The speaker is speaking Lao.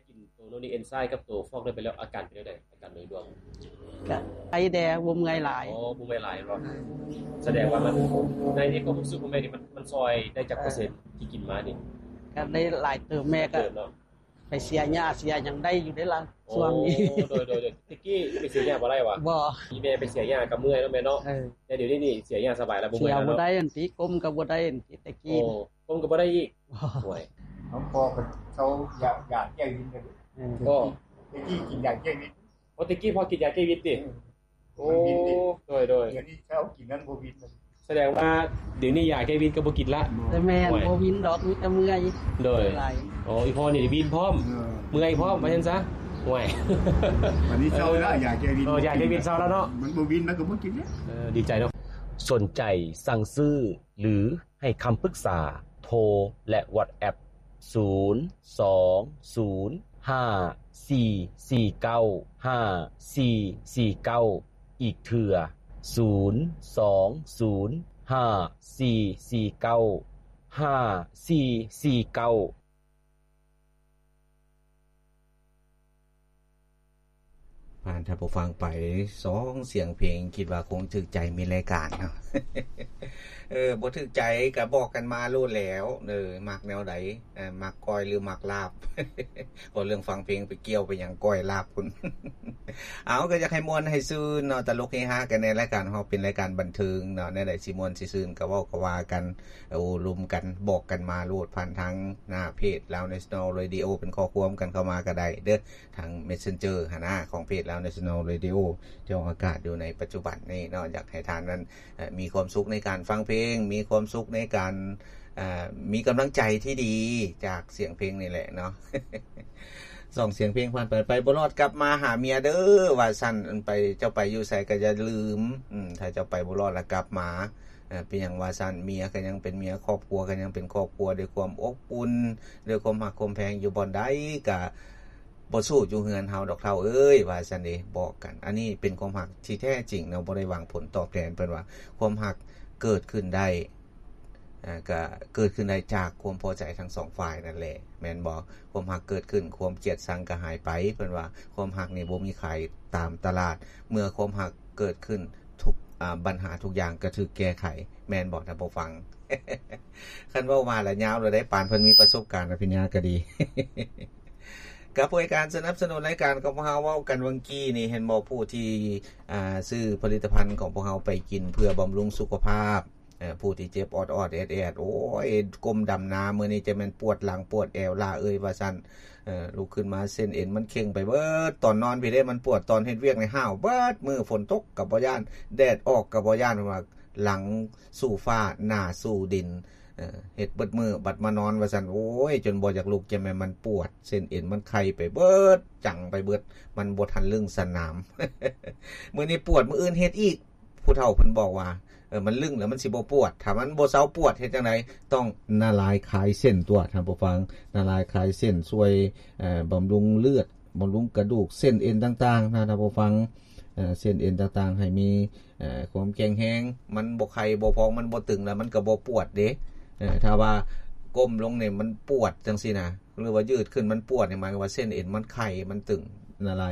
ກິນໂຕໂນນິກເອນໄຊກັບໂຕຟອກໄດ້ໄປແລ້ວ ອາການເປັນຈັ່ງໃດ? ອາການໂດຍລວມ ກະໄຄແດ່ ບໍ່ເມື່ອຍຫຼາຍ. ອໍ ບໍ່ເມື່ອຍຫຼາຍເນາະ. ສະແດງວ່າມັນ ໃນ ໃນຄວາມຮູ້ສຶກຂອງແມ່ນີ້ ມັນ ມັນຊ່ອຍໄດ້ຈັກເປີເຊັນທີ່ກິນມານີ້? ກະໄດ້ຫຼາຍເຕີບ. ແມ່ກະໄປເສຍຫຍ້າເສຍຫຍັງໄດ້ຢູ່ເດ້ລະ ຊ່ວງນີ້. ໂອ້ ໂດຍໆໆ. ແຕ່ກີ້ໄປເສຍຫຍ້າບໍ່ໄດ້ຫວາ? ບໍ່. ອີ່ແມ່ໄປເສຍຫຍ້າກະເມື່ອຍເນາະແມ່ເນາະ. ເອີ ແຕ່ດຽວນີ້ນີ້ເສຍຫຍ້າສະບາຍລະ ບໍ່ເມື່ອຍແລ້ວເນາະ. ເສຍບໍ່ໄດ້ ອັນຕິ ກົ້ມກະບໍ່ໄດ້ ອັນຕິ ແຕ່ກີ້. ໂອ້ ກົ້ມກະບໍ່ໄດ້ອີກ. ໂອ້ຍ ນ້ອງພໍ່ກະເຊົາຢາກ ຢາແກ້ວິນ. ເອີ ແຕ່ກີ້ກິນຢາແກ້ວິນ. ໂອ້ ແຕ່ກີ້ພໍ່ກິນຢາແກ້ວິນຕິ? ເອີ ໂອ້ ໂດຍໆ. ດຽວນີ້ເຊົາກິນນັ້ນບໍ່ວິນ. ສະແດງວ່າດຽວນີ້ຢາແກ້ວິນກະບໍ່ກິນລະ. ແຕ່ແມ່ນ ໂອ້ຍ ບໍ່ວິນດອກ ມີແຕ່ເມື່ອຍ. ໂດຍ. ອໍ ອີ່ພໍ່ນີ້ວິນພ້ອມ ເອີ ເມື່ອຍພ້ອມ ວ່າຊັ້ນຊະ. ໂອ້ຍ ອັນນີ້ເຊົາລະ ຢາແກ້ວິນ. ໂອ້ ຢາແກ້ວິນເຊົາລະເນາະ. ມັນບໍ່ວິນ ມັນກະບໍ່ກິນແລ້ວ. ເອີ ດີໃຈເນາະ. ສົນໃຈສັ່ງຊື້ ຫຼື ໃຫ້ຄຳປຶກສາ ໂທ ແລະ ວັອດແອັບ ສູນ ສອງ ສູນ ຫ້າ ສີ່ ສີ່ ເກົ້າ ຫ້າ ສີ່ ສີ່ ເກົ້າ ອີກເທື່ອ ສູນ ສອງ ສູນ ຫ້າ ສີ່ ສີ່ ເກົ້າ ຫ້າ ສີ່ ສີ່ ເກົ້າ. ຜ່ານທ່ານຜູ້ຟັງໄປສອງສຽງເພງ ຄິດວ່າຄົງຖືກໃຈມິດລາຍການເນາະ. ເອີ ບໍ່ຖືກໃຈກະບອກກັນມາໂລດແລ້ວ ເອີ ມັກແນວໃດ ເອີ ມັກກ້ອຍຫຼືມັກລາບ. ເວົ້າເລື່ອງຟັງເພງໄປກ່ຽວໄປຫຍັງກ້ອຍລາບພຸ້ນ. ເອົາ ກະຢາກໃຫ້ມ່ວນໃຫ້ຊື່ນເນາະ ຕະຫຼົກເຮຮາກັນແດ່. ລາຍການເຮົາເປັນລາຍການບັນເທີງເນາະ ແນວໃດຊິມ່ວນຊິຊື່ນ ກະເວົ້າກະວ່າກັນ ໂອ້ລົມກັນ ບອກກັນມາໂລດ ຜ່ານທາງໜ້າເພຈ Lao National Radio ເປັນຂໍ້ຄວາມກັນເຂົ້າມາກະໄດ້ເດີ ທາງ Messenger ຫັ້ນນະ ຂອງເພຈ Lao National Radio ທີ່ອອກອາກາດຢູ່ໃນປັດຈຸບັນນີ້ເນາະ. ຢາກໃຫ້ທ່ານນັ້ນ ເອີ ມີຄວາມສຸກໃນການຟັງເພງ ມີຄວາມສຸກໃນການ ເອີ ມີກຳລັງໃຈທີ່ດີຈາກສຽງເພງນີ້ແຫຼະເນາະ. ສອງສຽງເພງຜ່ານໄປ ໄປບໍ່ລອດກັບມາຫາເມຍເດີ ວ່າຊັ້ນ. ໄປ ເຈົ້າໄປຢູ່ໃສກະຢ່າລືມ ອືມ ຖ້າເຈົ້າໄປບໍ່ລອດລະກັບມາ. ເອີ ເປັນຫຍັງວ່າຊັ້ນ ເມຍກະຍັງເປັນເມຍ ຄອບຄົວກະຍັງເປັນຄອບຄົວ ດ້ວຍຄວາມອົບອຸ່ນ ດ້ວຍຄວາມຮັກຄວາມແພງ ຢູ່ບ່ອນໃດກະບໍ່ສູ້ຢູ່ເຮືອນເຮົາດອກເຖົ້າເອີຍ ວ່າຊັ້ນເດ ບອກກັນ. ອັນນີ້ເປັນຄວາມຮັກທີ່ແທ້ຈິງເນາະ ບໍ່ໄດ້ຫວັງຜົນຕອບແທນ. ເພິ່ນວ່າຄວາມຮັກເກີດຂຶ້ນໄດ້ ເອີ ກະເກີດຂຶ້ນໄດ້ຈາກຄວາມພໍໃຈທັງສອງຝ່າຍນັ້ນແຫຼະ ແມ່ນບໍ່? ຄວາມຮັກເກີດຂຶ້ນ ຄວາມກຽດຊັງກະຫາຍໄປ. ເພິ່ນວ່າຄວາມຮັກນີ້ບໍ່ມີຂາຍຕາມຕະຫຼາດ ເມື່ອຄວາມຮັກເກີດຂຶ້ນ ທຸກ ອາ ບັນຫາທຸກຢ່າງກະຖືກແກ້ໄຂ ແມ່ນບໍ່ທ່ານຜູ້ຟັງ? ຄັນເວົ້າມາລະຍາວລະໄດ໋ ປານເພິ່ນມີປະສົບການອະພິນຍາກະດີ. ກັບພວກການສະໜັບສະໜູນລາຍການຂອງພວກເຮົາ ເວົ້າກັນຫວ່າງກີ້ນີ້ ເຫັນບໍ່ ຜູ້ທີ່ ອາ ຊື້ຜະລິດຕະພັນຂອງພວກເຮົາໄປກິນເພື່ອບຳລຸງສຸຂະພາບ ເອີ ຜູ້ທີ່ເຈັບອອດໆແອດໆ ໂອ້ຍ ກົ້ມດຳນາມື້ນີ້ ຈະແມ່ນປວດຫຼັງປວດແອວຫຼ້າເອີຍ ວ່າຊັ້ນ. ເອີ ລຸກຂຶ້ນມາເສັ້ນເອັນມັນເຄັ່ງໄປເບິດ ຕອນນອນພີ້ເດ້ມັນປວດ ຕອນເຮັດວຽກນີ້ຫ້າວເບິດມື້ ຝົນຕົກກະບໍ່ຢ້ານ ແດດອອກກະບໍ່ຢ້ານ ເພິ່ນວ່າຫຼັງສູ່ຟ້າ ໜ້າສູ່ດິນ ເອີ ເຮັດເບິດມື້ ບັດມານອນວ່າຊັ້ນ ໂອ້ຍ ຈົນບໍ່ຢາກລຸກ ຈະແມ່ນມັນປວດ ເສັ້ນເອັນມັນໄຂ່ໄປເບິດ ຈັງໄປເບິດ ມັນບໍ່ທັນລຶ້ງສະໜາມ. ມື້ນີ້ປວດ ມື້ອື່ນເຮັດອີກ ຜູ້ເຖົ້າເພິ່ນບອກວ່າ ເອີ ມັນລຶ້ງແລ້ວມັນຊິບໍ່ປວດ ຖ້າມັນບໍ່ເຊົາປວດເຮັດຈັ່ງໃດ? ຕ້ອງນະລາຍຄາຍເສັ້ນຕົວະ ທ່ານຜູ້ຟັງ. ນະລາຍຄາຍເສັ້ນ ຊ່ວຍ ເອີ ບຳລຸງເລືອດ ບຳລຸງກະດູກ ເສັ້ນເອັນຕ່າງໆນະ ທ່ານຜູ້ຟັງ. ເອີ ເສັ້ນເອັນຕ່າງໆໃຫ້ມີ ເອີ ຄວາມແຂງແຮງ ມັນບໍ່ໄຂ່ບໍ່ພອງ ມັນບໍ່ຕຶງ ແລ້ວມັນກະບໍ່ປວດເດ້. ເອີ ຖ້າວ່າກົ້ມລົງນີ້ມັນປວດຈັ່ງຊີ້ນະ ຫຼືວ່າຍືດຂຶ້ນມັນປວດນີ້ ໝາຍຄວາມວ່າເສັ້ນເອັນມັນໄຂ່ ມັນຕຶງ ນະລາຍ